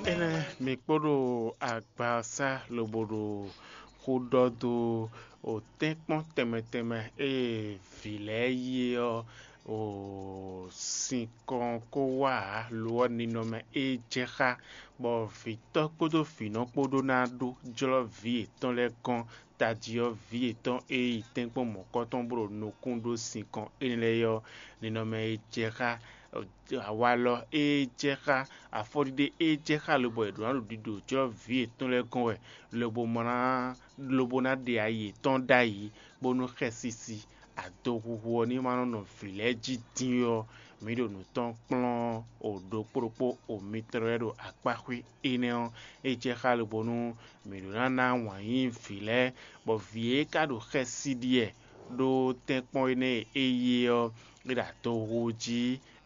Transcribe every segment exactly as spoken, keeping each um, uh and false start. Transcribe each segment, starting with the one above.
Énɛ́ mi kpó ɖo agba ɔ́ sá lobo ɖo xó ɖɔ dó o tɛ́nkpɔ́n tɛnmɛ tɛnmɛ e vǐ lɛ́ɛ yí é ɔ́, o sinkɔn ko wá ǎ, lo ɔ́, ninɔmɛ e jɛ xá, bɔ vǐtɔ́ kpódó vǐnɔ kpó ɖó ná ɖó jlɔ́ vǐ yětɔn lɛ́ɛ gɔ́n tají ɔ́, vǐ yětɔn e yi tɛ́nkpɔ́n mɔ̌kɔtɔn bó ɖo nukún ɖó sinkɔn énɛ́ lɛ́ɛ é ɔ́, ninɔmɛ e jɛ xá awalɔ e jɛ xá afɔɖiɖe e jɛ xá lobɔ è ɖǒ ná ɖo ɖiɖo jlɔ́ vǐ yětɔn lɛ́ɛ gɔ́n wɛ, lobo ma ná lobo ná ɖe ayi yětɔn ɖ'ayǐ, bónú xɛsisi adohuhu ɔ́ ní ma nɔ nɔ vǐ lɛ́ɛ jí dín ɔ́, mǐ ɖo nǔ tɔn kplɔ́n o ɖokpó ɖokpó o mitɔn lɛ́ɛ ɖo akpáxwé énɛ́ ɔ́, é jɛ xá lobo nú mǐ ɖó ná ná wǎn yí vǐ lɛ́ɛ, bɔ vǐ e ka ɖo xɛsi ɖi wɛ ɖó tɛ́nkpɔ́n énɛ́ e é yí é ɔ́, é ɖo adohu jí,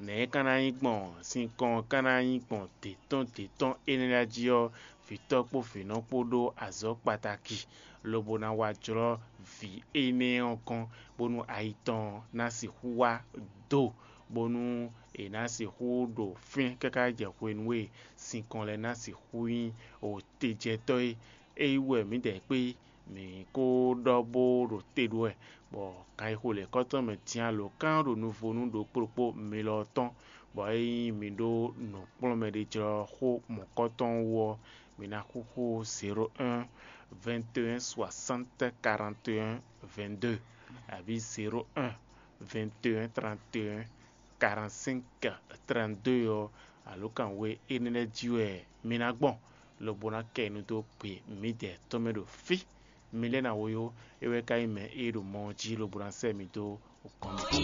nɛ̌ é ka ná nyí gbɔn sinkɔn ɔ́ ka ná nyí gbɔn dě tɔn dě tɔn énɛ́ lɛ́ɛ jí ɔ́, vǐtɔ́ kpó vǐnɔ kpó ɖó azɔ̌ kpataki, lobo ná wá jlɔ́ vǐ énɛ́ ɔ́ gɔ́n, bónú ayi tɔn ná sixú wá do, bónú è nǎ sixú ɖo fínɛ́ káká jɛ hwenu e sinkɔn lɛ́ɛ ná sixú nyí tejɛtɔ́ é. É wú wɛ mǐdɛɛ kpé mǐ ko ɖɔ bó ɖo te ɖó wɛ, bɔ kan e xo lɛ̌kɔ́tɔn mɛ din alǒkan ɖo nuvo nú ɖokpó ɖokpó mi lɔ ɔ́ tɔn, bɔ é nyí mi ɖó nǔkplɔ́nmɛ ɖé jlɔ́ xó mɔ̌kɔtɔn wú ɔ́, mi ná xúxú zéro un, vingt et un, soixante, quarante et un, vingt-deux, abǐ zéro un, vingt et un, trente et un, quarante-cinq, trente-deux ɔ́, alǒkan we énɛ́ lɛ́ɛ jí wɛ mi ná gbɔn, lobo ná kɛ nu dó gbe mǐdɛɛ tɔn mɛ ɖo fí. Mi lɛ́ ná woyó, é wɛ ka nyí mɛ e ɖo mɔ ɔ́ jí lobo ná sɛ́ mi dó gɔ́n mǐtɔn.